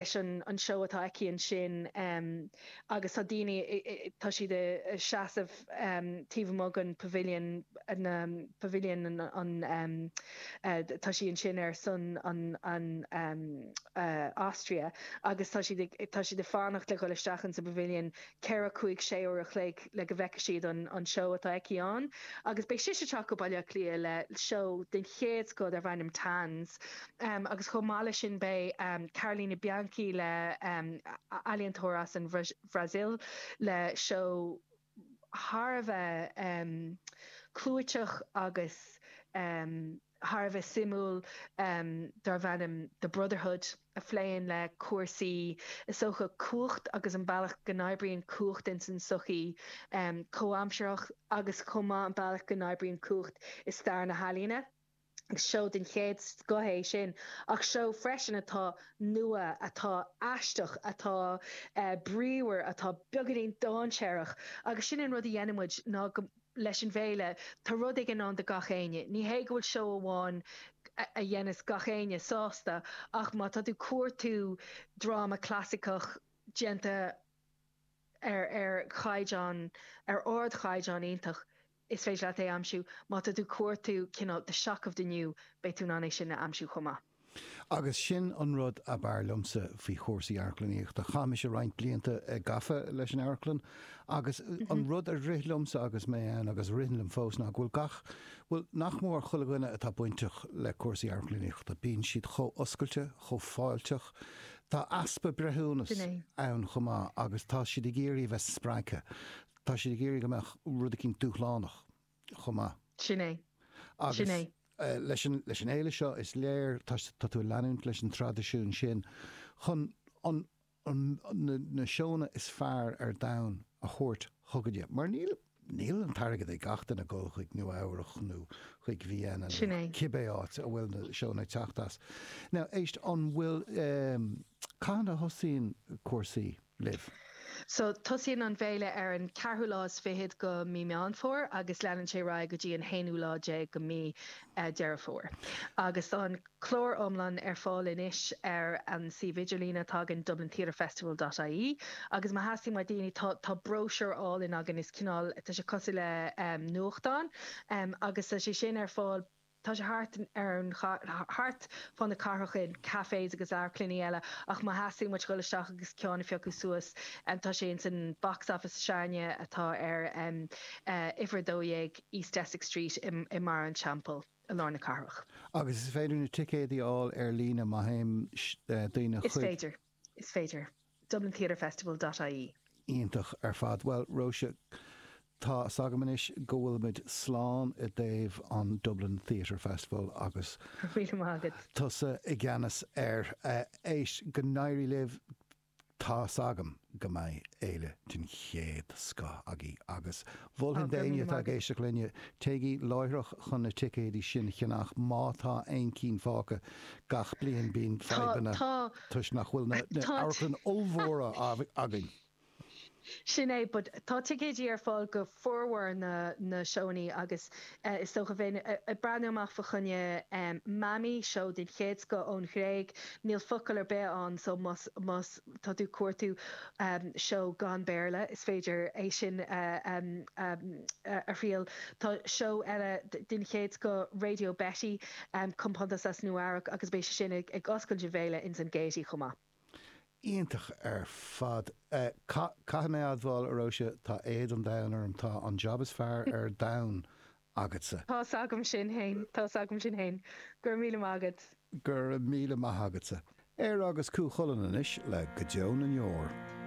Leis an seó atá aici ansin agus tá daoine, tá siad ag seasamh taobh amuigh den pavilion, na pavilion an, tá sí ansin ar son an Austria agus tá siad ag, tá siad ag fanacht le dhul isteach in sa pavilion 4, 5, 6 uair a chloig le go bhfeicfidh siad an seó atá aici ann agus beidh sise ag teacht go Baile Átha Cliath le seó den chéad scoth darb ainm Tans agus chomh maith leis sin beidh Carolina Bianchi le ealaíontóir as an Bhrasaíl le seó thar a bheith clúiteach agus thar a bheith suimiúil darb ainm The Brotherhood a phléann le cúrsaí, is dócha, cumhacht agus an bealach go n-oibríonn cumhacht ins an tsochaí comhaimsearthach agus chomh maith an bealach go n-oibríonn cumhacht i stair na healaíne. Agus seó den chéad scoth é sin, ach seó freisin atá nua, atá aisteach, atá bríomhar, atá beagáinín dainséarach agus sin an rud a dhéanann muid ná go, leis an bhféile, tá rud éigin ann do gach éinne. Ní hé go bhfuil seó amháin a dhéanas gach éinne sásta ach má tá tú ag cuartú dráma clasaiceach déanta ar ar chaighdeán, ar ardchaighdeán iontach, is féidir leat é a aimsiú. Má tá tú ag cuartú cineál the shock of the new, beidh tú in ann é sin a aimsiú chomh maith. Agus sin an rud ab fhearr liomsa faoi chúrsaí amharclannaíochta. Chaith mise roinnt blianta gafa leis an amharclann agus an rud a rith liomsa agus mé ann, agus a ritheann liom fós, ná go bhfuil gach, bhuel, nach mór chuile dhuine atá bainteach le cúrsaí amharclannaíochta, bíonn siad chomh oscailte, chomh fáilteach. Tá easpa breithiúnas ann chomh maith agus tá siad ag iarraidh a bheith spreagtha. Tá siad ag iarraidh go mbeadh rud eicínt dúshlánach chomh maith. Sin é. Sin é. Agus leis an, leis an fhéile seo, is léir, tá, tá tú ag leanúint leis an traidisiún sin chun an, an, na, na seónna is fearr ar domhan a thabhairt chugainne. Mar níl, níl an t-airgead ag gach duine dul chuig Nua Eabhrach nó chuig Vienna Sin nó é. cibé áit a bhfuil na seónna ag teacht as. Now, éist, an bhfuil, cathain a thosaíonn cúrsaí? libh. So, tosaíonn an bhféile ar an ceathrú lá is fichead go mí Meán Fómhair agus leanann sé ar aghaidh go dtí an haonú lá déag go mí Deireadh Fómhair. Agus tá an clár iomlán ar fáil anois ar an suíomh idirlín atá againn, dublintheatrefestival dot ie. Agus má theastaíonn uait daoine, tá tá bróisiúr álainn againn, is cineál, tá sé cosúil le nuachtán, agus tá sé sin ar fáil, Tá sé thart ar an thart fá na cathrach in cafés agus amharclannaí eile ach má theastaíonn uait dhul isteach agus ceann a phiocadh suas tá sé ins an box office s'againne atá ar uimhir 12 East Essex Street i mBarra an Teampaill i lár na cathrach. Agus is féidir na ticéadaí a fháil ar líne má théann daoine chuig. Is féidir. Is féidir. dublintheatrefestival dot ie. Iontach ar fad. Bhuel, Róise, tá 's agam anois go bhfuilimid slán i dtaobh an Dublin Theatre Festival agus Go raibh míle maith agat. tusa i gceannas air. Éist, go n-éirí libh. Tá 's agam go mbeidh féile den chéad scoth agaibh agus mholfainn Go raibh d'éinne míle atá maith ag agat. éisteacht linne, téigí láithreach chun na ticéidí sin a cheannach má tá aon cinn fágtha. Gach bliain bíonn Tá, fadhbanna. tá. toisc nach bhfuil na Tá. amharclann ollmhóra againn. Sin é, but tá ticéidí ar fáil go formhór na na seónnaí agus is dócha bheinn ag breathnú amach fa choinne Mami, seó den chéad scoth ón Ghréig, níl focal ar bith ann so más más tá tú ag cuartú seó gan Béarla is féidir é sin a a thriail. Tá seó eile den chéad scoth, Radio Betty, compántas as Nua Eabhrac agus beidh sé sin ag oscailt an bhféile ins an Gaiety chomh maith. Iontach ar fad. Caithfidh mé a admháil, a Róise, tá éad an domhain orm. Tá an jab is fearr ar domhan agatsa. Tá's agam sin fhéin, tá's agam sin fhéin. Go raibh míle maith agat. Go raibh míle maith agatsa. Éire agus Cú Chulainn anois le Go Deo na nDeor.